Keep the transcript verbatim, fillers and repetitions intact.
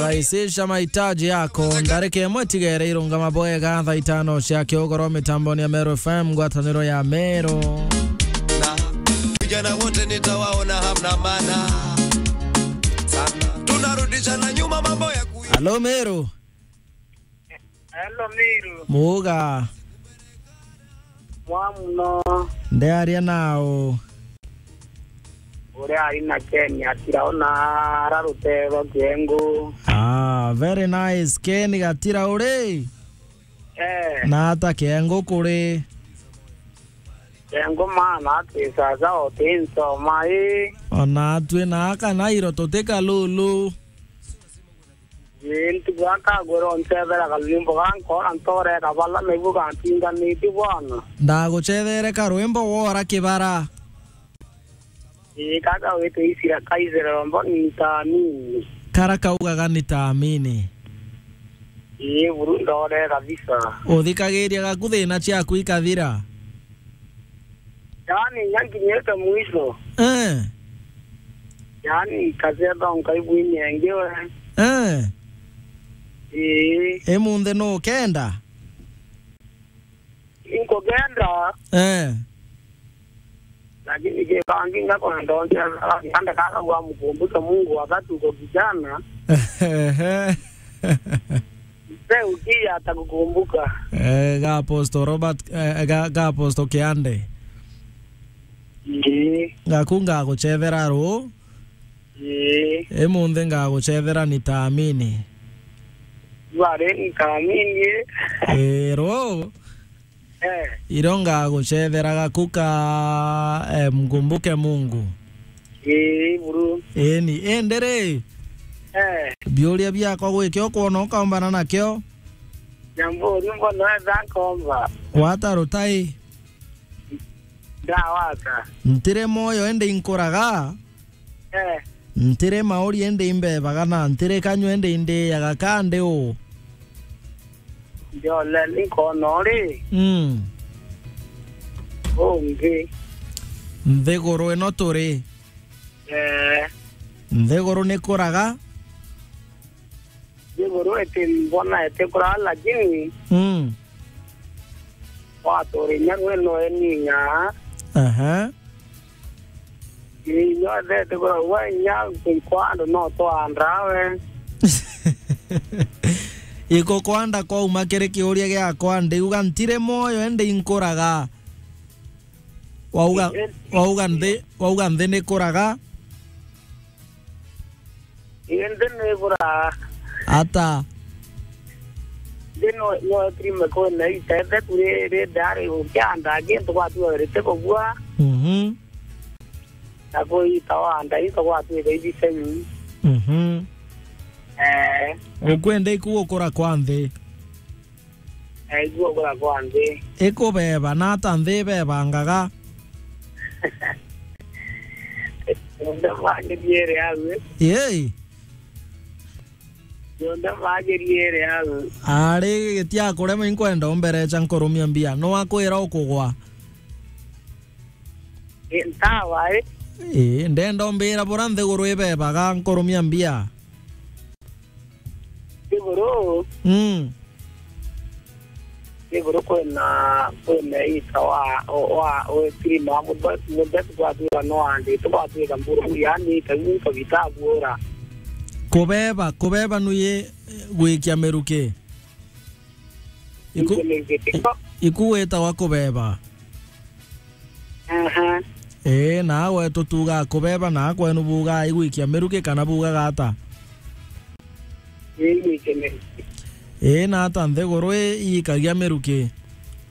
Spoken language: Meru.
Rahisisha mahitaji yako. Ndarika imwe tigere irungama bwega thaa itano cia kiugoro mitamboni ya Meru F M, ngwataniro ya Meru. Na vijana wote nitawaona hamna maana sana. Tunarudishana nyuma mambo ya ku- Halo, Meru. Hello, Miru. Muga. Mwa muno. Ndearia nao. Uria ari na Ken atiraona ara rutero kiengu. Ah, very nice. Ken Gatira uri? Eh. Na ata kiengu kuri? Kiengu maana ati sasa oti nsoma i. Ona atwi na aka na iro tutika lulu. Ii, ntuku akagwira uncethera karwimbo ga nkora ntoreka bala, naibu gantinganitie bwana. Ndagucethere karwimbo wora kibara. Ii, kaka wite isira kaithire rombo nitaamini. Kara kaugaga nitaamini. Ii, buru ndore kabisa. Uthikagiria gaku thina ciaku ikathira. Yaani, nyankinyite mwisho. Eh. Yaani, kaseba nkaigua inyengewe. Eh. Ii. Imunthe nukenda? Inkugenda. Eh. Lakini kibangi ngakwenda onje, kanda kaka gwa mkumbuke Mungu wakati uko kijana. Ehe. Mzee ukia atakukumbuka. Eh, ga Apostle Robert, eh, ga, ga Apostle Kiande. Ii. Gaku ngagucethera ru. Ii. Imunthe ngagucethera nitaamini. Bari nitaamini, eh. Eh, ru. Eh. Iro ngagucethera gaku ka, eh, mkumbuke Mungu. Ii, buru. Eni, indi ri? Eh. Biuria biakwa gwikio kwona ukaumbana nakio? Jambo, ni mbona weza nkomba? Wata rutai? Ndawata. Ntire moyo indi inkuraga? Eh. Ntire mauri indi imbebaga na ntire kanyua indi indiaga ka ndi u? Njole ni nkona uri. Mm. Ungi. Nthiguru ino turi. Eh. Nthiguru ni kuraga? Nthiguru iti mbona iti kuraga lakini. Mm. Waturi inya gwe no eninya. Aha. Inya thete kuraga inya kwa andu no twandawe. Iko kwanda kwauma kiri kiuria giakwa, ndiuga ntire moyo indi inkuraga. Wauga, wauga nthi, wauga nthi ni kuraga? Ii, nthi ni kuraga. Ata? Nthi no, no trime kwene itete kuri ri dari ukianda kintu gwatuga rite kugua. Mhm. Na kuita wanda into gwatuika ibisemi. Mhm. Eh. Ukwenda iku gukura kwa nthi? Eh, iguo gukura kwa nthi. Ikubeba na ata nthi ibebangaga? Ndio magiriere awe. Yei. Ndio magiriere awe. Ari gitiakurema inkwenda umberecha nkurumia mbia. No akwira ukugwa. Ii, ntawa, ii. Ii, ndenda umbira bura nthiguru ibebaga nkurumia mbia. Nthiguru? Mm. Nthiguru kwina, kwina ita wa, wa, wa, wa kirima muthetu, muthetu gwatuika no andite, gwatuika mburu, yaani ita muntu gitabuura. Kubeba, kubeba nuye gwikia miruki. Iku-, iku gwitagwa kubeba. Aha. Ii, na gwetu tuugaa kubeba, na kwenu buugaa igwikia miruki kana buugaga ata? Ii, igwikia miruki. Ii, na ata nthiguru ii iikagia miruki?